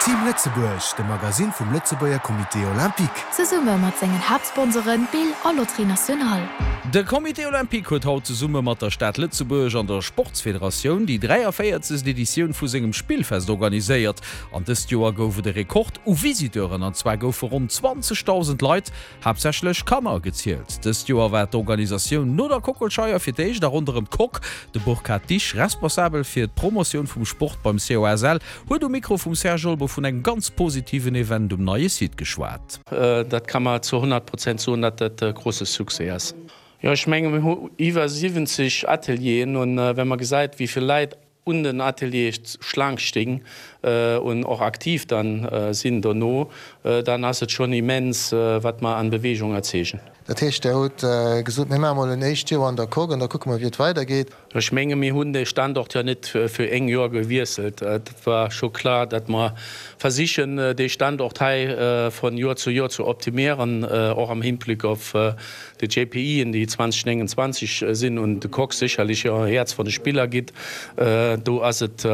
Team Lëtzebuerg, de Magasinn vum Lëtzebuerger Comité Olympique. Zesumme mat sengen Haaptsponsoren Bill a Loterie Nationale. De Comité Olympique huet haut zesumme mat der Stad Lëtzebuerg an der Sportsfederatioun déi 43. Editioun vu sengem Spillfest organiséiert. An dëst Joer gouf et e Rekord u Visiteuren, an zwar goufe ronn 20.000 Leit, haaptsächlech Kanner, gezielt. Dëst Joer war d'Organisatioun no der Kockelscheier fir d'éischt a ronderëm d'Coque. De Burkhard Dich, Responsabel fir d'Promotioun vum Sport beim COSL, huet um Mikro vum Serge Olmo vun engem ganz positiven Event um neie Site geschwat. Dat ka mer zu 100 Prozent soen, datt dat e grosse Succès ass. Jo, ech menge mir hu iwwer 70 Atelieren an wa mer gesäit, wéi vill Leit un den Ateliere Schlaang sting un och aktiv dann sinn dono, dann ass et schonn immens, wat mer an Bewegung erzeegen. Dat heescht, Der hutt gesot, mir maache mol en éischt Joer an der Coque an da kucke mer, wéi et weidergeet. Ech menge mir hunn de Standort jo net fir éng Joer gewiesselt. Et war scho klar, datt mer versichen, dee Standort hei von Joer zu Joer zu optimieren, och am Hinblick op de JPIen, déi 2029 sinn un de Coque sécherlech e Häerz von de Spiller gitt. Do ass et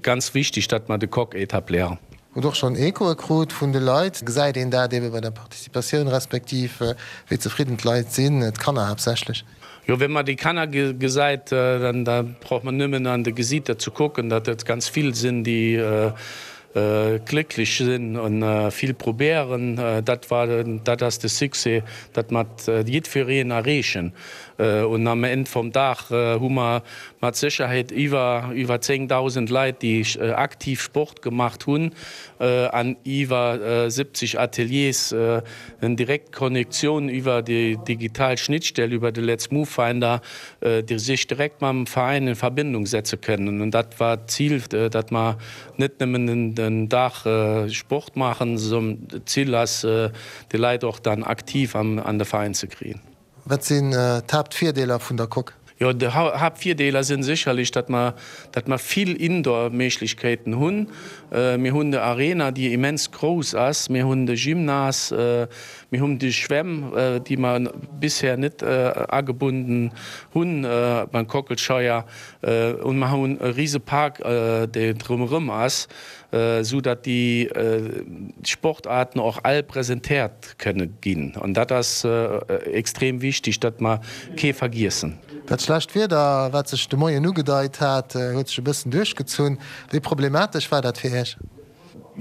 ganz wichtig, datt mer de Coque etablieren. Hutt och schonn Echoe krut vun de Leit? Gesäit een dat ebe bei der Participatioun, respektiv wéi zefridden d'Leit sinn, d'Kanner haaptsächlech? Jo, wenn mer déi Kanner gesäit, dann da brauch mer nëmmen an de Gesiiter ze kucken, datt et ganz vill sinn, déi glécklech sinn a vill probéieren. Dat war, dat ass de Succès, datt mer jiddwereen erreechen. Un am Enn vum Dag hu mer mat Sécherheet iwwer iwwer 10.000 Leit, déi aktiv Sport gemacht hunn an iwwer 70 Ateliers en direkt Konnektioun iwwer déi digital Schnittstell, iwwer de Let's Move Finder, déi sech direkt mam Veräin in Verbindung setze kënnen. An dat war d'Zil, datt mer net nëmmen den Dag Sport maachen, sondern d'Zil ass, déi Leit och dann aktiv an de Veräin ze kriegen. Wat sinn d'Haaptvirdeeler vun der Coque? Jo, déi Haaptvirdeeler sinn sécherlech, datt mer, datt mer vill Indoor-Méiglechkeeten hunn. Mir hunn de Arena, déi immens grouss ass, mir hunn de Gymnase, mir hunn déi Schwämm, déi mer bisher net agebunden hunn beim Kockelscheier, un mer hunn e rise Park, dee drëmerëm ass, esou datt déi Sportaarten och all presentéiert kënne ginn. An dat ass extrem wichtig, datt mer kee vergiessen. Dat schlecht Wieder, wat sech de Moien ugedeit hat, huet sech e bëssen duerchgezunn. Wéi problematesch war dat fir Iech?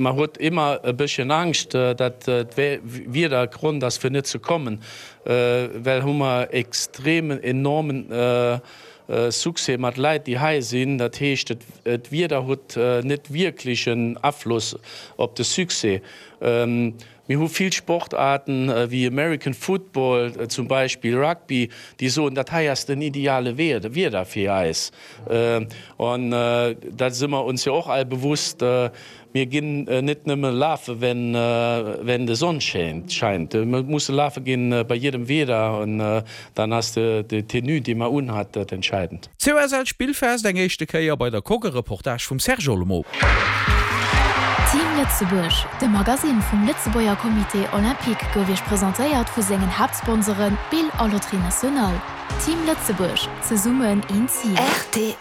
Mer huet ëmmer e bësschen Angscht, datt d'Wieder Grond ass fir net ze kommen, well hu mer extremen, enormen Succès mat Leit, déi hei sinn. Dat heescht, d'Wieder huet net wierklech en Afloss op de Succès. Mir hu vill Sportaarten, wéi American Football zum Beispill, Rugby, déi soen, dat hei ass den ideale Wieder fir eis. An dat si mer ons jo och all bewusst, mir ginn net nëmme lafe wenn de Sonn scheint, mir musse lafe ginn bei jedem Wieder an dann ass déi Tenue, déi mer unhat, dat entscheidend. COSL Spillfest eng éischte Kéier bei der Coque, e Reportage vum Serge Olmo. Team Lëtzebuerg, de Magasinn vum Lëtzebuerger Comité Olympique gouf Iech presentéiert vu sengen Haaptsponsoren Bill a Loterie Nationale. Team Lëtzebuerg, zesummen een Zil. Rtl.